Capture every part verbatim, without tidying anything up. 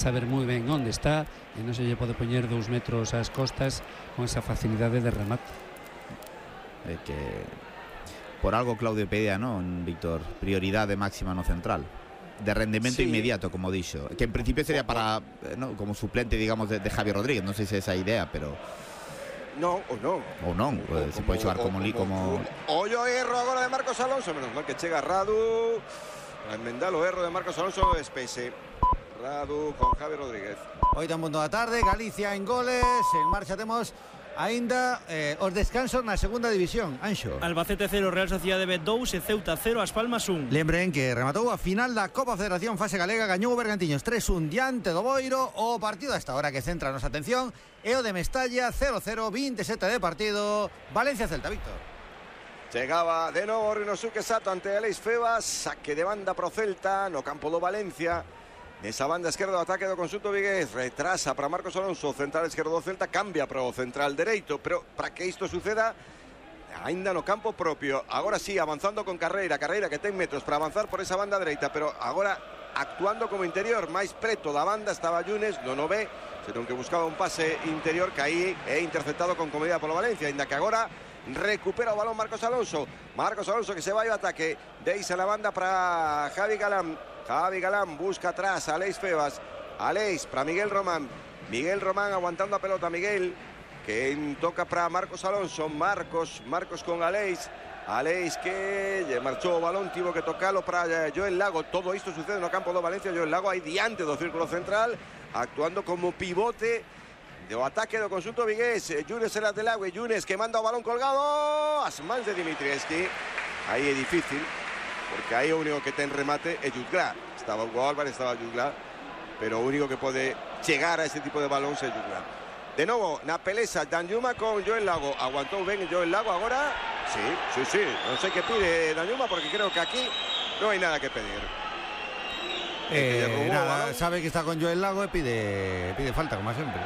saber moi ben onde está e non se lle pode poñer dous metros ás costas con esa facilidade de remate. É que por algo Claudio pedía, non, Víctor, prioridade máxima no central, de rendemento sí. inmediato, como dixo, que en principio sería para, no, como suplente, digamos, de, de Javi Rodríguez, non sei se é esa idea, pero non, ou non ou non, pues, se pode xogar como li, como ollo erro agora de Marcos Alonso, menos mal que chega Radu para enmendar o erro de Marcos Alonso no despese. Radu con Javi Rodríguez. Oito en punto da tarde, Galicia en goles, en marcha temos aínda eh, os descansos na segunda división. Anxo. Albacete cero, Real Sociedade B dous e Ceuta cero, As Palmas un. Lembren que rematou a final da Copa Federación Fase Galega, gañou o Bergantiños tres un diante do Boiro. O partido a esta hora que centra a nosa atención é o de Mestalla, cero cero, veintisiete de partido, Valencia-Celta, Víctor. Chegaba de novo Rinosuke Sato ante Alex Febas, saque de banda pro Celta no campo do Valencia. Nesa banda esquerda do ataque do conxunto vigués, retrasa para Marcos Alonso, central esquerdo do Celta, cambia para o central dereito, pero para que isto suceda aínda no campo propio. Agora sí, avanzando con Carreira, Carreira que ten metros para avanzar por esa banda dereita, pero agora actuando como interior, máis preto da banda estaba Yunes, non o ve, senón que buscaba un pase interior que aí é interceptado con comodidade polo Valencia, aínda que agora recupera o balón Marcos Alonso. Marcos Alonso que se vai ao ataque, deixa la banda para Javi Galán. Javi Galán busca atrás a Aleix Febas. Aleix para Miguel Román. Miguel Román aguantando a pelota. Miguel que toca para Marcos Alonso. Marcos, Marcos con Aleix. Aleix que lle marchou o balón, tivo que tocalo para Joel Lago. Todo isto sucede no campo do Valencia. Joel Lago aí diante do círculo central, actuando como pivote do ataque do conxunto vigués. Yunes era de Lago e Yunes que manda o balón colgado as mans de Dimitrievski. Aí é difícil, porque aí o único que ten remate é Jutgla. Estaba Hugo Álvarez, estaba Jutgla, pero o único que pode chegar a ese tipo de balón é Jutgla. De novo, na pelesa Danjuma con Joel Lago. Aguantou ben Joel Lago agora. Sí, sí, sí. Non sei que pide Danjuma, porque creo que aquí non hai nada que pedir. Eh, que nada, sabe que está con Joel Lago e pide, pide falta, como sempre.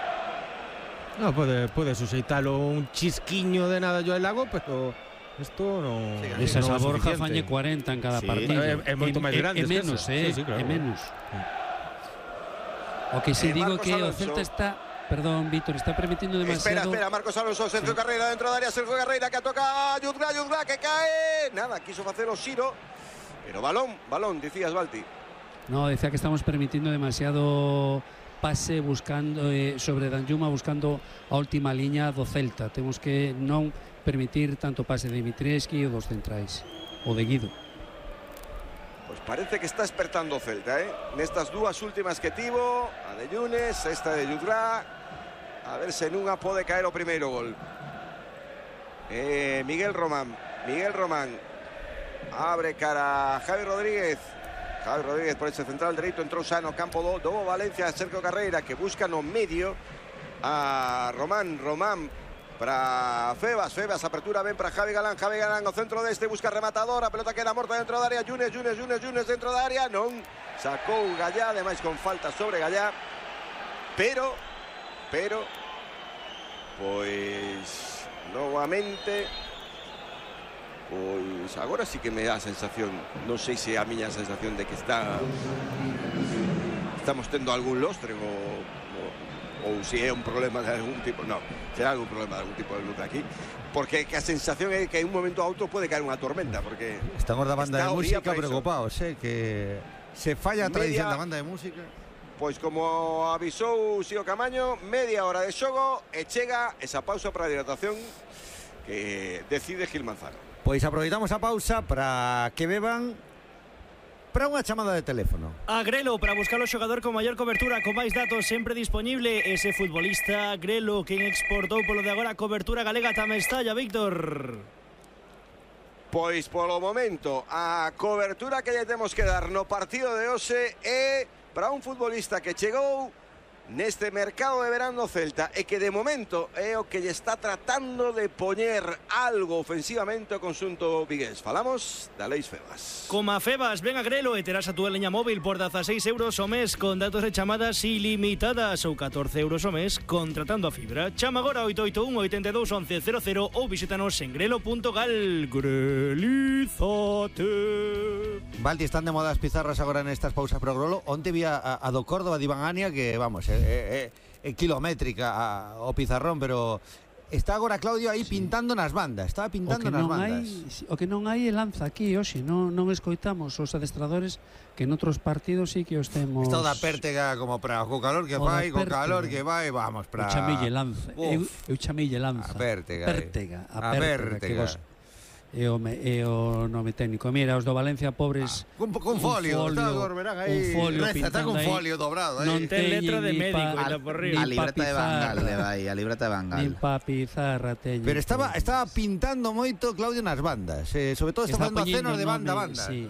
No, pode, pode suxeitalo un chisquiño de nada Joel Lago, pero isto non... Sí, esa no Borja fañe cuarenta en cada sí, partido. É, é moito máis grande. É menos, eh, sí, sí, claro. É menos. Sí. O que se eh, digo que Alonso. O Celta está, perdón, Víctor, está permitiendo demasiado. Espera, espera, Marcos Alonso, Sergio sí. Carreira dentro da área, Sergio Carreira que toca a Jutgla, Jutgla que cae. Nada, quiso facer o Xiro, pero balón, balón, dicías, Balti. No, decía que estamos permitiendo demasiado pase buscando eh, sobre Danjuma, buscando a última liña do Celta. Temos que non permitir tanto pase de Dimitrievski ou dos centrais, o de Guido. Pois parece que está despertando o Celta, eh? Nestas dúas últimas que tivo, a de Yunes, esta de Jutgla, a ver se nunha pode caer o primeiro gol. Eh, Miguel Román, Miguel Román, abre cara a Javi Rodríguez. Javi Rodríguez por ese central dereito, entrou xa no campo do, do Valencia, Sergio Carreira que busca no medio a Román, Román para Febas, Febas apertura ben para Javi Galán, Javi Galán ao centro deste, busca rematador, a pelota queda morta dentro da área, Yunes, Yunes, Yunes, Yunes dentro da área, non sacou Gallá, ademais con falta sobre Gallá, pero pero pois novamente pois agora sí que me dá a sensación, non sei se é a miña sensación de que está estamos tendo algún lostre ou, ou, ou se é un problema de algún tipo, non, será algún problema de algún tipo de luz aquí, porque que a sensación é que en un momento a outro pode caer unha tormenta, porque estamos da banda de música preocupados, eh, que se falla a tradición da banda de música. Pois como avisou Xio Camaño, media hora de xogo e chega esa pausa para a hidratación que decide Gil Manzano. Pois aproveitamos a pausa para que beban para unha chamada de teléfono. A Grelo, para buscar o xogador con maior cobertura, con máis datos, sempre disponible. Ese futbolista Grelo, quen exportou polo de agora a cobertura galega tamén está, ya, Víctor. Pois polo momento, a cobertura que lle temos que dar no partido de hoxe é para un futbolista que chegou neste mercado de verano Celta e que de momento é o que lle está tratando de poñer algo ofensivamente o conxunto vigués. Falamos da Leis Febas. Coma Febas, ven a Grelo e terás a túa leña móvil por dezaseis euros o mes con datos de chamadas ilimitadas ou catorce euros o mes contratando a fibra. Chama agora oito oito un, oito dos, once cero cero ou visítanos en grelo punto gal. Grelízate. Valti, están de moda as pizarras agora nestas pausas pro Grolo. Onte vi a, a do Córdoba de Iván Ania que, vamos, é, é, é kilométrica a, o pizarrón, pero está agora Claudio aí sí. pintando nas bandas, estaba pintando nas bandas. Hai, o que non hai é lanza aquí, hoxe, non, non escoitamos os adestradores que en outros partidos sí que os temos. Está da Pértega como para co calor que vai, co calor que vai, vamos para. O chamille lanza, eu, eu chamille lanza. A Pértega. Pértega, a, a Pértega, Pértega. Que vos, é o, me, é o nome técnico. Mira, os do Valencia pobres ah, con, con folio, un folio, está, aí, un folio reza, está con folio dobrado aí. Non ten letra de médico pa, e por riba. A libreta de Bangal le vai, a libreta de Bangal. Nin pa pizarra teño. Pero estaba estaba pintando moito Claudio nas bandas, eh, sobre todo está, está facendo acenos de banda a banda. Sí.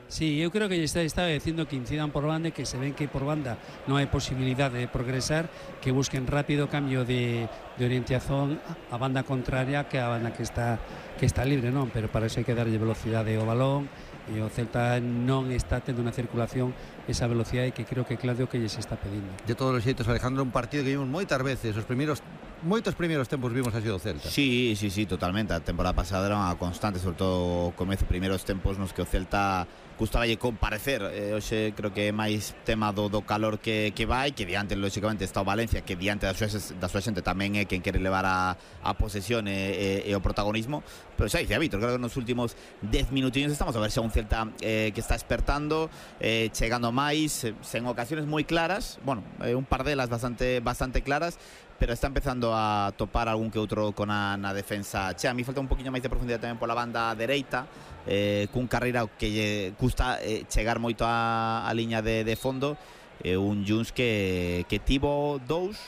Sí, eu creo que está, está dicindo que incidan por banda e que se ven que por banda non hai posibilidad de progresar, que busquen rápido cambio de, de orientación a banda contraria que a banda que está que está libre, non? Pero para iso hai que darlle velocidade ao balón e o Celta non está tendo unha circulación esa velocidade que creo que Claudio que lles está pedindo. De todos os xeitos, Alejandro, un partido que vimos moitas veces, os primeiros moitos primeiros tempos vimos así do Celta. Sí, sí, sí, totalmente. A temporada pasada era unha constante, sobre todo o comezo, primeiros tempos nos que o Celta gustaballe comparecer. Eh, hoxe creo que é máis tema do, do calor que, que vai, que diante, lógicamente, está o Valencia, que diante da súa, da súa xente tamén é quen quere levar a, a posesión e, e, e o protagonismo. Pero xa dice a Vítor, creo que nos últimos dez minutinhos estamos a ver xa un Celta eh, que está despertando, eh, chegando máis, eh, sen ocasiones moi claras, bueno, eh, un par delas bastante, bastante claras, pero está empezando a topar algún que outro con a, na defensa. Che, a mí falta un poquinho máis de profundidade tamén pola banda dereita, eh, cun Carreira que lle custa eh, chegar moito a, a liña de, de fondo, eh, un Junts que, que tivo dous,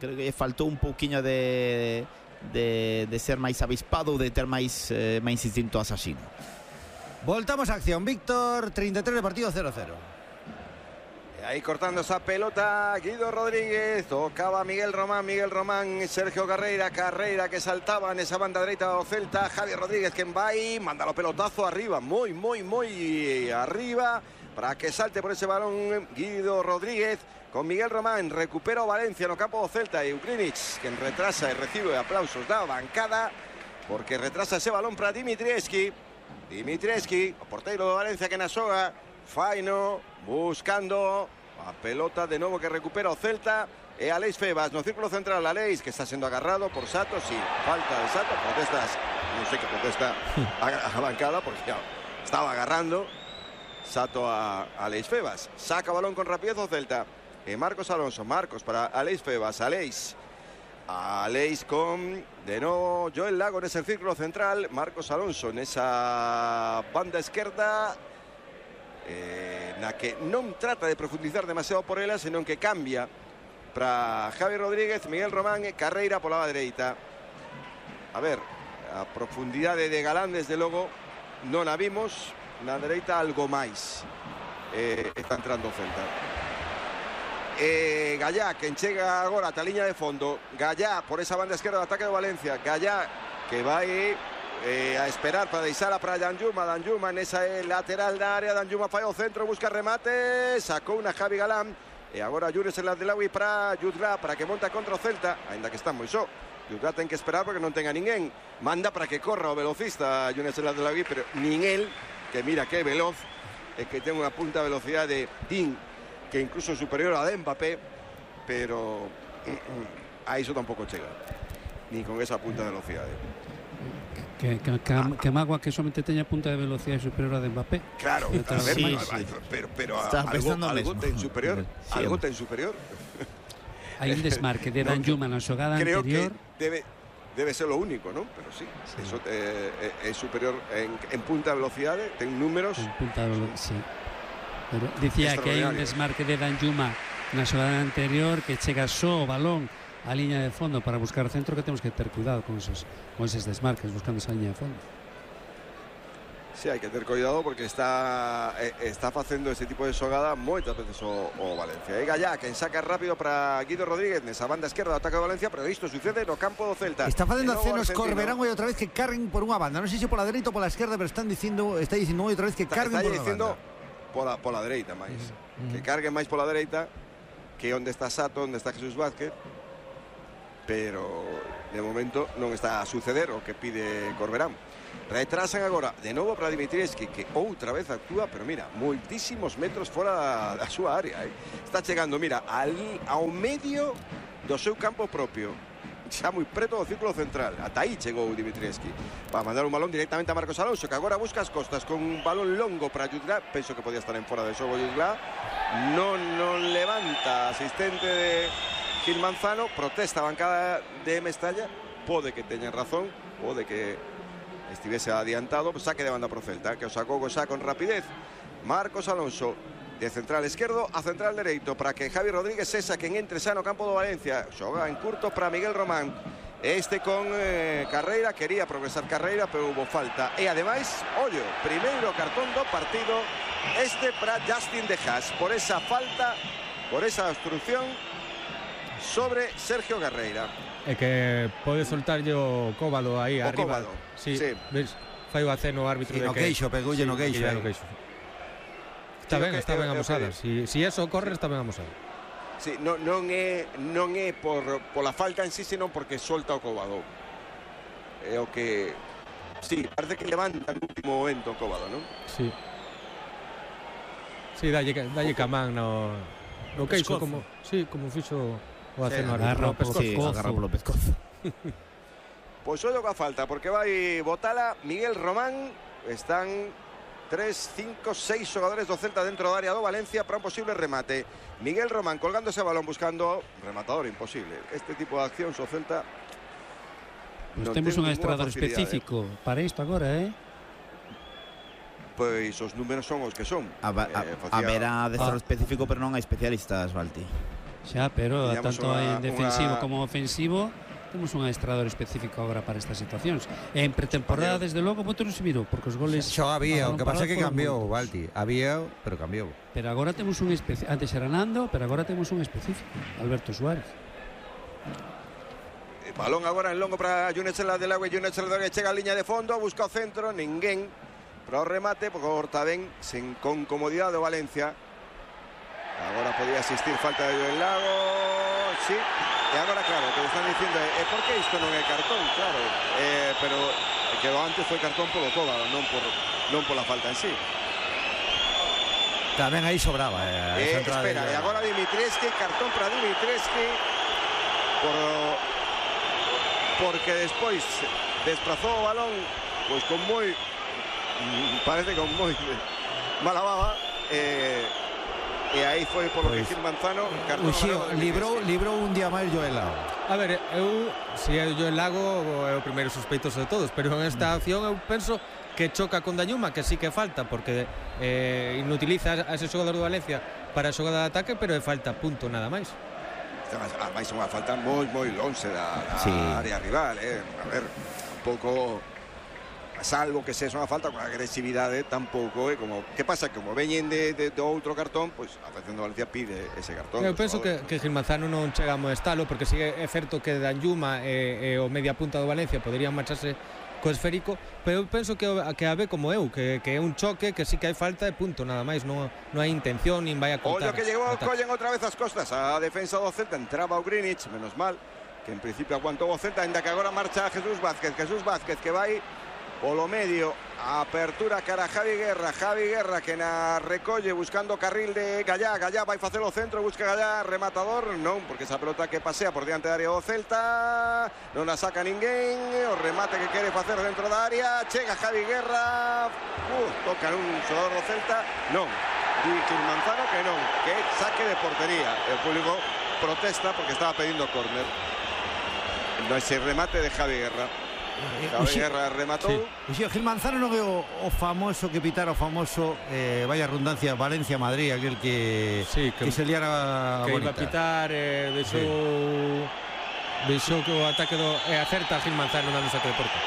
creo que faltou un pouquiño de, de, de ser máis avispado ou de ter máis, eh, máis instinto asasino. Voltamos a acción, Víctor, treinta y tres de partido, cero cero. Ahí cortando esa pelota, Guido Rodríguez, tocaba Miguel Román, Miguel Román, Sergio Carreira, Carreira que saltaba en esa banda derecha do Celta, Javier Rodríguez que vai, manda o pelotazo arriba, moi, moi, moi arriba, para que salte por ese balón Guido Rodríguez, con Miguel Román, recupera o Valencia no campo do Celta e Ukrinic, que retrasa e recibe aplausos da bancada, porque retrasa ese balón para Dimitrievski, Dimitrievski, o porteiro do Valencia que na xoga, faino, buscando a pelota de novo que recupera o Celta e Aleix Febas no círculo central. Aleix que está sendo agarrado por Sato, sí, falta de Sato, protestas, non sei que protesta a, a bancada porque ya, estaba agarrando Sato a, a Aleix Febas. Saca balón con rapidez o Celta e Marcos Alonso, Marcos para Aleix Febas, Aleix Aleix con de novo Joel Lago nese círculo central, Marcos Alonso nesa banda esquerda, Eh, na que non trata de profundizar demasiado por ela, senón que cambia para Javi Rodríguez, Miguel Román e Carreira pola dereita. A ver, a profundidade de Galán desde logo non a vimos, na dereita algo máis. Eh, está entrando o Celta. Eh, Gallá que enchega agora a liña de fondo, Gallá por esa banda esquerda do ataque de Valencia, Gallá que vai Eh, a esperar para deixala para Danjuma, Danjuma nesa lateral da área, Danjuma fai o centro, busca remate, sacou unha Javi Galán e agora Yunes El Adelawi para Yudra, para que monta contra o Celta, ainda que está moi só. Yudra ten que esperar porque non ten a ninguén, manda para que corra o velocista Yunes El Adelawi, pero nin el, que mira que é veloz, é que ten unha punta de velocidade din que incluso superior a de Mbappé, pero a iso tampouco chega, ni con esa punta de velocidade. Que, que, que, ah. que Magua que somente teña punta de velocidade superior a de Mbappé. Claro, a ver, sí, Magua, sí. pero, pero algo, algo ten superior, sí, algo ten superior. Hai un desmarque de Danjuma na xogada creo anterior. Creo que debe, debe ser lo único, ¿no? Pero sí, sí. Eso eh, é superior en, en punta de velocidade, ten números. En punta de velocidade, sí. Pero dicía que hai un desmarque de Danjuma na xogada anterior que chega só o balón a liña de fondo para buscar centro, que temos que ter cuidado con esos, con eses desmarques buscando esa liña de fondo. Sí, hai que ter cuidado porque está eh, está facendo ese tipo de xogada moitas veces o, o Valencia. E Gallá, quen saca rápido para Guido Rodríguez nesa banda esquerda do ataque de Valencia, pero isto sucede no campo do Celta. Está facendo acenos Argentino. Corberán hoy outra vez que carguen por unha banda. Non sei se pola dereita ou pola esquerda, pero están dicindo, está dicindo hoy outra vez que Está, carguen está por unha dicindo banda. pola, pola dereita máis. Mm. Que carguen máis pola dereita, que onde está Sato, onde está Jesús Vázquez. Pero de momento non está a suceder o que pide Corberán. Retrasan agora de novo para Dimitrievski, que outra vez actúa, pero mira, moitísimos metros fora da súa área, eh. Está chegando, mira, al, ao medio do seu campo propio, xa moi preto do círculo central. Ata aí chegou Dimitrievski para mandar un balón directamente a Marcos Alonso, que agora busca as costas con un balón longo para Jutglà. Penso que podía estar en fora de xogo Jutglà. Non, non levanta asistente de Gil Manzano, protesta a bancada de Mestalla. Pode que teñan razón, pode que estivese adiantado, pues saque de banda pro Celta, que o sacou xa con rapidez Marcos Alonso, de central esquerdo a central dereito, para que Javi Rodríguez sexa quen entre xa no campo do Valencia. Xoga en curto para Miguel Román, este con eh, Carreira, quería progresar Carreira, pero hubo falta, e ademais, ollo, primeiro cartón do partido este para Justin De Haas, por esa falta, por esa obstrucción sobre Sergio Carreira. É que pode soltar yo Cóbalo aí o arriba. Cóbalo, Sí, sí. ves, fai o aceno o árbitro Sí, de no queixo, pegoulle no queixo, que eh. no queixo. Está Sí, ben, o que- está ben o- o amosada. que- Si, si eso corre, está ben amosada. Sí, non, non é non é por pola falta en sí, senón porque solta o Cóbado. É o que sí, parece que levanta no último momento o Cóbado, non? Sí. Sí, dalle, dalle camán no, no queixo, pescozo. como, sí, como fixo o aceno agarra árbitro. o No pescozo. Sí, pescozo. agarra polo pescozo. Pois ollo coa falta, porque vai botala Miguel Román. Están tres, cinco, seis xogadores do Celta dentro da área do Valencia para un posible remate. Miguel Román colgando ese balón buscando rematador, imposible. Este tipo de accións o Celta Pues non temos ten un ninguna adestrador facilidade. específico para isto agora, eh? Pois os números son os que son. Haba- Eh, ha- facía- Haberá adestrador Ah. específico, pero non hai especialistas, Valti. Xa, pero Tiñamos tanto unha- en defensivo unha- como ofensivo temos un adestrador específico agora para estas situacións. En pretemporada, desde logo, moito non se mirou, porque os goles... Xo había, o a balón que pasa é parado que foron cambiou, moitos. Valti. Había, pero cambiou. Pero agora temos un específico. Antes era Nando, pero agora temos un específico, Alberto Suárez. Balón agora en longo para Júnior Chela del Agua. Júnior Chela del Agua chega a liña de fondo, busca o centro, ninguén para o remate, porque corta ben sen con comodidade do Valencia. Agora podía asistir falta de Joel Lago, sí. E agora claro, que están dicindo, e por que isto non é cartón? Claro, eh, pero que antes foi cartón polo Cóbado, non por non pola falta en sí. Tamén aí sobraba. Eh, Eh, esa entrada espera, de- e agora Dimitrievski, cartón para Dimitrievski por porque despois desplazou o balón pois con moi parece con moi mala baba, eh, e aí foi polo Pois, que Gil Manzano cartón Uxío, amarelo de librou, Dimitrievski. librou un día máis Joel Lago. A ver, eu, se é o Lago, é o primeiro sospeitoso de todos, pero en esta acción eu penso que choca con Dañuma, que sí que falta, porque eh, inutiliza a ese xogador do Valencia para a xogada de ataque, pero é falta, punto, nada máis. Ademais unha falta moi moi lonxe da, da Sí. área rival, eh. A ver, un pouco salvo que sexa unha falta con agresividade, tampouco é como que pasa que como veñen de, de, de outro cartón, pois a Federación de Valencia pide ese cartón. Eu penso que, que Gil Manzano non chega a molestalo, porque si é certo que Dañuma e, e o media punta do Valencia poderían marcharse co esférico, pero eu penso que, o- que a ve como eu, que, que é un choque, que sí que hai falta e punto, nada máis, non, non hai intención, nin vai a Ollo cortar. que llegou, o ataque. collen outra vez as costas a defensa do Celta, entraba o Greenwich, menos mal que en principio aguantou o Celta, ainda que agora marcha Jesús Vázquez, Jesús Vázquez que vai polo medio, a apertura cara a Javi Guerra, Javi Guerra que na recolle buscando carril de Gallá, Gallá vai facer o centro, busca Gallá, rematador, non, porque esa pelota que pasea por diante da área do Celta, non a saca ninguén, o remate que quere facer dentro da área, chega Javi Guerra, uh, toca un xogador do Celta, non, di Gil Manzano que non, que saque de portería, el público protesta porque estaba pedindo córner, no ese remate de Javi Guerra. Javi Uxío, Guerra rematou. sí. Uxío, Gil Manzano non é o, o famoso que pitara o famoso eh, vaya redundancia Valencia-Madrid, aquel que, Sí, que- que se liara que iba bonita. a pitar, eh, deixou deixou que o ataque do e acerta a Gil Manzano dando saque de porta.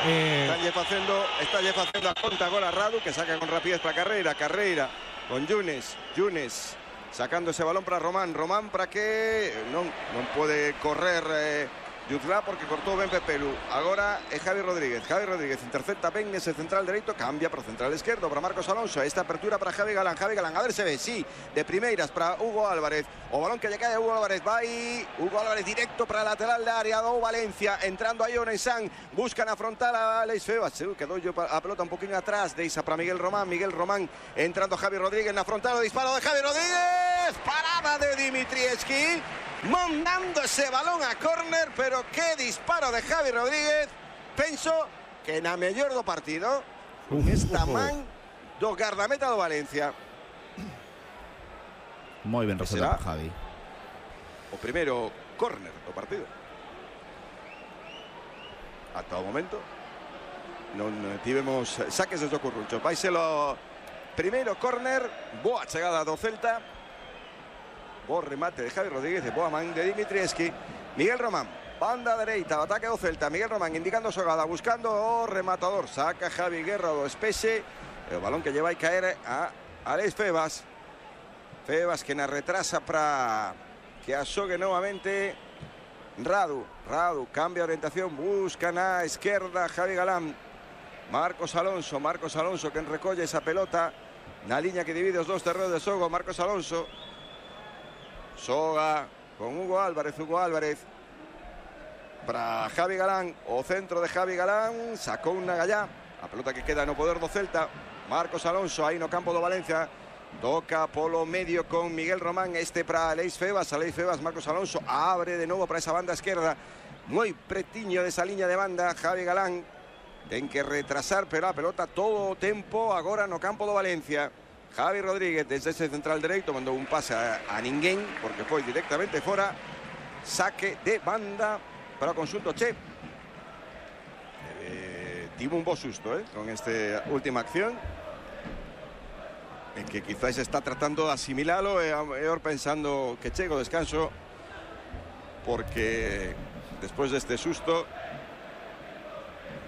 Eh... Está facendo, está facendo a conta agora Radu, que saca con rapidez para Carreira, Carreira con Yunes, Yunes sacando ese balón para Román, Román para que non, non pode correr eh, Jutla porque cortou ben Pepelu. Agora é Javi Rodríguez, Javi Rodríguez intercepta ben ese central dereito, cambia para o central esquerdo para Marcos Alonso, esta apertura para Javi Galán, Javi Galán, a ver se ve, sí, de primeiras para Hugo Álvarez, o balón que lle cae a Hugo Álvarez, vai Hugo Álvarez directo para a lateral da área do Valencia, entrando aí Onesán, buscan afrontar a Alex Febas, quedou a pelota un poquinho atrás, deixa para Miguel Román, Miguel Román entrando Javi Rodríguez na frontal, o disparo de Javi Rodríguez, parada de Dimitrievski, mandando ese balón a córner, pero qué disparo de Javi Rodríguez. Penso que na mellor do partido esta man do guardameta do Valencia. Moi ben resolvido por Javi. O primeiro córner do partido. Ata o momento non tivemos saques desde o Curruncho. Vai ser o primeiro córner, boa chegada do Celta. Bo remate de Javi Rodríguez, de boa man de Dimitrievski. Miguel Román, banda dereita, ataque do Celta. Miguel Román indicando xogada, buscando o rematador. Saca Javi Guerra do espexe. O balón que lle vai caer a Alex Febas. Febas que na retrasa para que asogue novamente Radu. Radu cambia orientación, busca na esquerda Javi Galán. Marcos Alonso, Marcos Alonso que recolle esa pelota na liña que divide os dos terreos de xogo. Marcos Alonso Soga con Hugo Álvarez, Hugo Álvarez para Javi Galán, o centro de Javi Galán, sacou unha gallá, a pelota que queda no poder do Celta. Marcos Alonso aí no campo do Valencia, toca polo medio con Miguel Román, este para Alex Febas, Alex Febas, Marcos Alonso abre de novo para esa banda esquerda, moi pretiño desa liña de banda. Javi Galán ten que retrasar, pero a pelota todo o tempo agora no campo do Valencia. Javi Rodríguez desde ese central dereito mandou un pase a, a ninguén porque foi directamente fora. Saque de banda para o conxunto Che. Eh, tivo un bo susto eh, con esta última acción en que quizás está tratando de asimilalo e eh, pensando que chega o descanso porque despois deste susto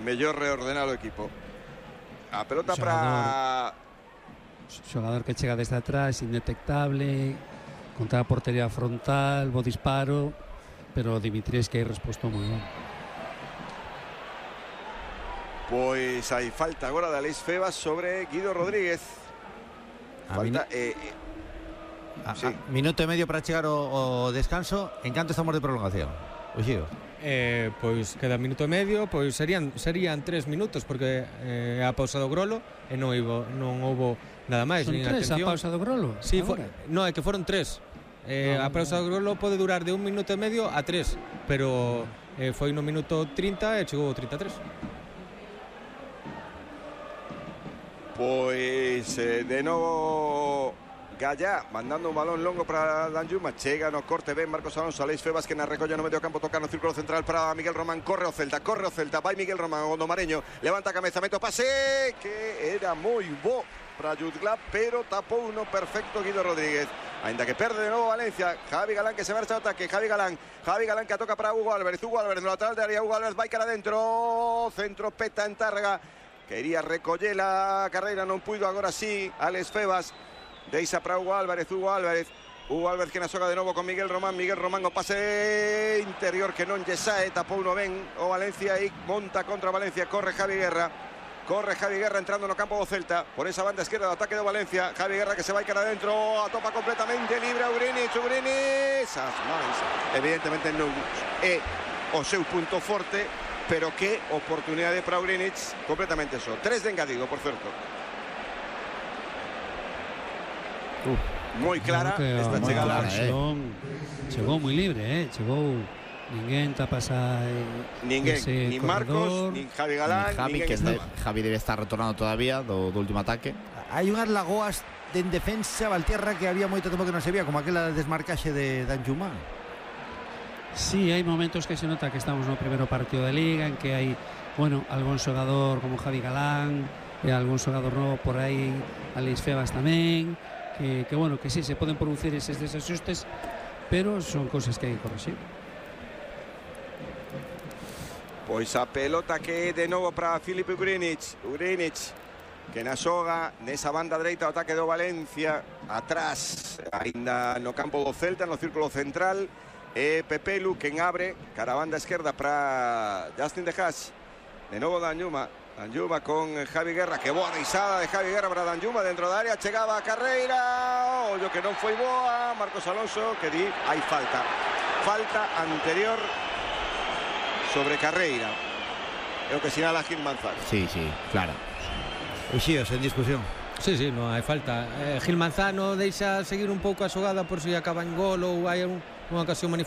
mellor reordenar o equipo. A pelota para xogador que chega desde atrás, indetectable, contra a portería frontal, bo disparo, pero Dimitrievski hai resposto moi ben. Pois hai falta agora de Alex Febas sobre Guido Rodríguez. Falta eh, eh, a, sí. a, minuto e medio para chegar o, o descanso. En canto estamos de prolongación? Oxío. Eh, pois queda minuto e medio, pois serían serían tres minutos porque eh, a pausa do Grolo e non houbo non houbo nada máis. Son tres a pausa do Grolo? Sí, for, no, é que foron tres. Eh, no, a pausa do Grolo pode durar de un minuto e medio a tres, pero eh, foi no minuto trinta e chegou o trinta e tres. Pois eh, de novo Gallá mandando un balón longo para Danjuma, chega no corte ben Marcos Alonso, Alex Febas que na recolla no medio campo, toca no círculo central para Miguel Román, corre o Celta, corre o Celta, vai Miguel Román, o Gondomareño, levanta a cabeza, mete o pase que era moi bo para Jutla, pero tapou uno perfecto Guido Rodríguez, ainda que perde de novo Valencia. Javi Galán que se marcha ao ataque, Javi Galán, Javi Galán que toca para Hugo Álvarez, Hugo Álvarez no lateral de área, Hugo Álvarez vai cara dentro, centro peta en Tárrega, quería recoller a carreira, non puido, agora sí, Alex Febas, deixa para Hugo Álvarez, Hugo Álvarez, Hugo Álvarez que na xoga de novo con Miguel Román, Miguel Román o pase interior que non lle sae, tapou no ben o Valencia e monta contra Valencia, corre Javi Guerra, corre Javi Guerra entrando no campo do Celta, por esa banda esquerda do ataque do Valencia, Javi Guerra que se vai cara adentro, atopa completamente libre a Ugrinic, Ugrinic, as mans, evidentemente non é o seu punto forte, pero que oportunidade para Ugrinic completamente só, tres de engadido, por certo. Uh, moi clara esta chegada, eh. Chegou moi libre, eh. Chegou ninguén tapas a ninguén, ni Marcos, ni Javi Galán, ni Javi, que está... de, Javi debe estar retornando todavía do, do último ataque. Hai unhas lagoas de en defensa Valtierra que había moito tempo que non se vía, como aquela desmarcaxe de Danjuma. Sí, hai momentos que se nota que estamos no primeiro partido de Liga, en que hai, bueno, algún xogador como Javi Galán e algún xogador novo por aí, Alex Febas tamén, que, que bueno, que sí, se poden producir eses desajustes, pero son cosas que hai que corregir. Pois a pelota que de novo para Filip Ugrinic. Ugrinic que na xoga nesa banda dereita o ataque do Valencia, atrás aínda no campo do Celta, no círculo central, e Pepelu quen abre cara a banda esquerda para Justin De Haas. De novo Danjuma, Danjuma con Javi Guerra, que boa risada de Javi Guerra para Danjuma dentro da área, chegaba a carreira, ollo que non foi boa, Marcos Alonso que di hai falta, falta anterior sobre Carreira, é o que sinala Gil Manzano. Sí, sí, claro. Uxíos en discusión. Sí, sí, non hai falta. eh, Gil Manzano deixa seguir un pouco a xogada por si acaba en gol ou hai un, unha ocasión manifesta